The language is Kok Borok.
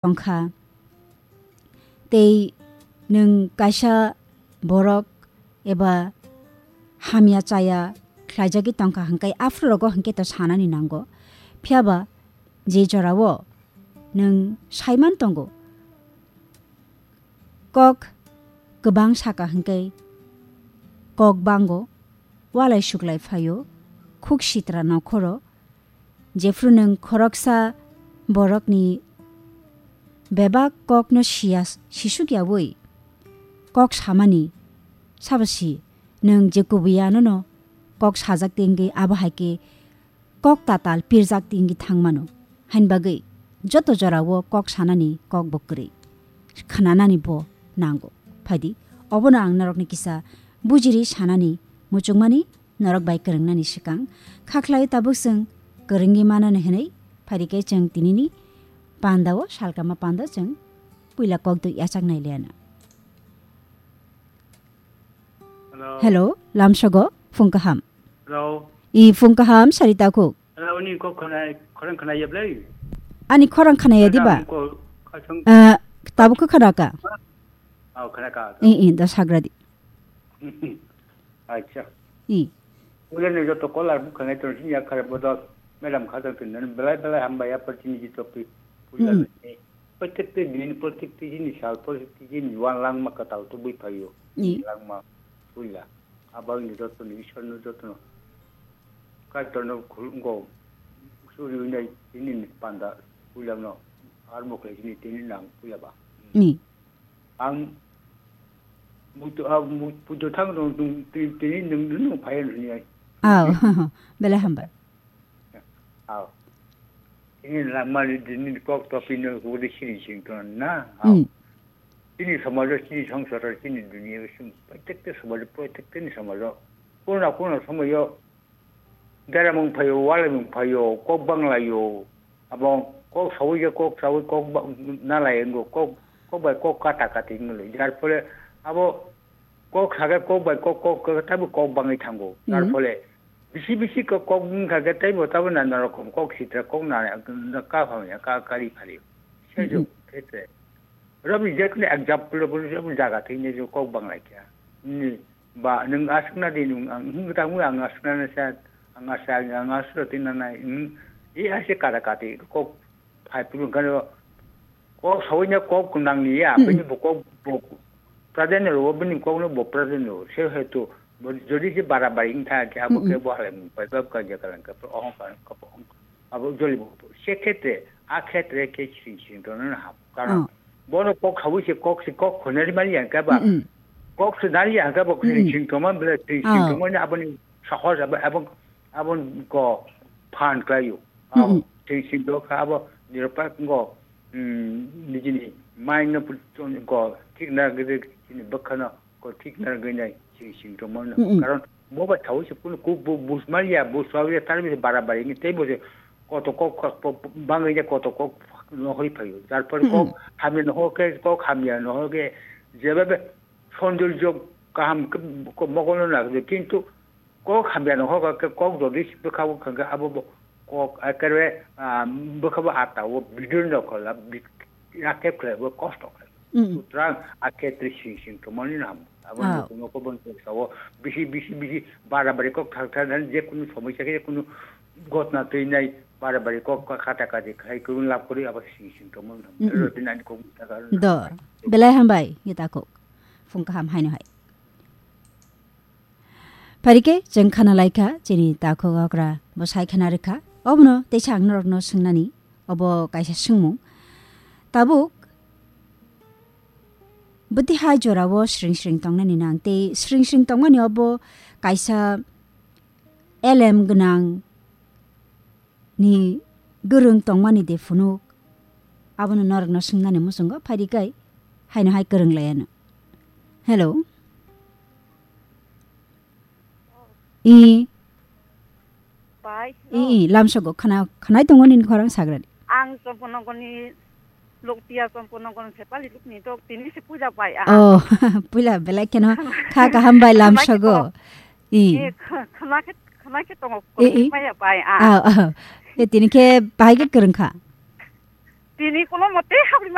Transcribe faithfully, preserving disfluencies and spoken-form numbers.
tongkha. Tei nwng kaisa borok eba hamya chaya khlaijagwi tongkha hwnkhe aphuru rogo hwnkhe to sanani nango. Phiyaba je jorao nwng saiman tongo, kok kwbang saka hwnkhe kok bango, walai suklai phaio, khuk sitra nokhoro, jephru nwng khoroksa borokni bebak kokno siya, sisuk yaui kok samani, sabo si nwng je kubui anono kok sajak tingwi abo hai khe kok tatal pirjak tingwi thangmano. Hain bagwi joto jorao kok sanani kok bo kwrwi, khnanani bo nango. Phaidi, obono ang norokni kisa bujiri sanani muchungmani norok bai kwrwngnani swkang. Khakhlai tabuk chwng kwrwngwi manani hwnwi phaidi khe chwng tinini pandao salkama panda chwng puila kok dui yachak nai liana. Hello. Hello, lamsogo, phung kaham. Hello. I phung kaham, sari takhuk. Hello, ni kok khana, khorang khana yablai. Ani khorang khana ya diba? Khorang ko, khasang. Eh, tabuk khe khana ka? Oh, khana ka. I, i, da sagra di. Acha. I. Ulan ni joto kolar bukhanai ton sin ya khare bodol. Madam khajang tin nan belai belai hamba ya pertini ji topi. Puila ni. Protekte din, protekte jini sal, protekte jini wan langma katal to bui phaio. Ni langma puila. Abang ni joto ni Ishwar no joto no. Kaitor no khulungo. Suri unai tini ni panda puila no. Armo khlai jini tini nang puila ba. Ni. Ang mutu, ah, mu-, putu thang no tini nung nung phaio ni ai. Aw, belai hamba. Aw. Ini langmani dini kok topi no huri sini sing tong na. Aw. Mm. Ini samajo, ini songsaro, ini dunia sing, protekte samajo, protekte ni samajo. Kono kono samajo, daramung phaio, walamung phaio, kok banglaio. Abo kok sawi je kok sawi kok ba-, nalai ngo, kok, kok bai kok kata kati ngolo. Jar phole abo kok saka kok bai kok, kok, kok, tabo kok bangwi thango. Tar phole bisi bisi kok, kok wngkha khe teibo tabo nana rokom kok sitra kok na, na ka phamya, ka kari phari. Sejo khetre. Robi jekni example bo robi jaga thwini jo kok banglai kha. Ni ba nwng aswkna di nwng ang hwnkhe tamo ang aswkna na sa, ang aswk, ang aswk twi na nai. E ase kata kati kok phai phuru kano kok sawi na kok nang ni ya, bini bo kok bo pradhan ro, bini kok no bo pradhan ro. Se hetu bo jodi je bara bari wng tha khe abo khe bo halai mung pai bab ka ja kalang ka ohong ka ka ohong. Abo joli bo se khetre, a khetre khe sing sing to na ham. Karon bono kok sawi se kok se kok khonari mali yang ka ba. Kok se nari yang ka ba sing sing to man bele sing sing to man aboni sahos abo, abo, abon ko phan klaio. Abo sing sing to kha abo niropak ngo, mm, nijini mind no put-, ko thik na gede chini bwkha no ko thik na gede nai sing sing to man. Karon bo ba thawi se kun ku bu-, bus mali ya, bus mali ya, tar bi bara bari ni tei bo se koto kok, kok, po-, po-, bangwi ya koto kok no hoi phaio. Jar por kok hamya no ho ke, kok hamya no ho ke, jeba be sonjol jog kaham ke, ko mogol no na, kintu kok hamya no hokha khe kok jodi bwkha bwkha khe abo bo kok ekere, ah, bwkha bo ata o bidin no khola, bid-, ya khe khle bo kosto khle. Sutrang a khe tri sing sing to mani nam. Abo no kono ko bon ko sawo bisi bisi bisi bara bari kok thak thak dan je kunu somosya khe kunu gotna twi nai bara bari kok ka kata kati khai kunu lab kori abo sing sing to mani nam. Ro tin ani kok ta ka. Do. Belai hambai, ngita kok. Phung kaham haino hai. Phaikhe chwng khana laikha, chini takhuk okra bo sai khana rwkha. Obono teisa ang norokno swngnani, obo kaisa swngmung. Tabuk bwtwi hai jorao sring sring tongnani nang tei sring sring tongmani obo kaisa elem gwnang ni gwrwng tongmani de phunuk? Abono norokno swngnani muchungo phaidi kai haino hai kwrwng laiano. Hello. I. Pai, I, hello. I, lamsogo khana, khanai tongo nini khorang sagrani. Ang Chomponogorni Loktiya Chomponogor Sepali lukni tok tini se puja pai a. Oh, puila belai kheno kha kaham bai lamsogo. I. Eh, kh-, khna khe, khna khe tongo, I, I. Maya pai a. Ah, ah. E tini khe bahai khe kwrwng kha. Tini kono mote habri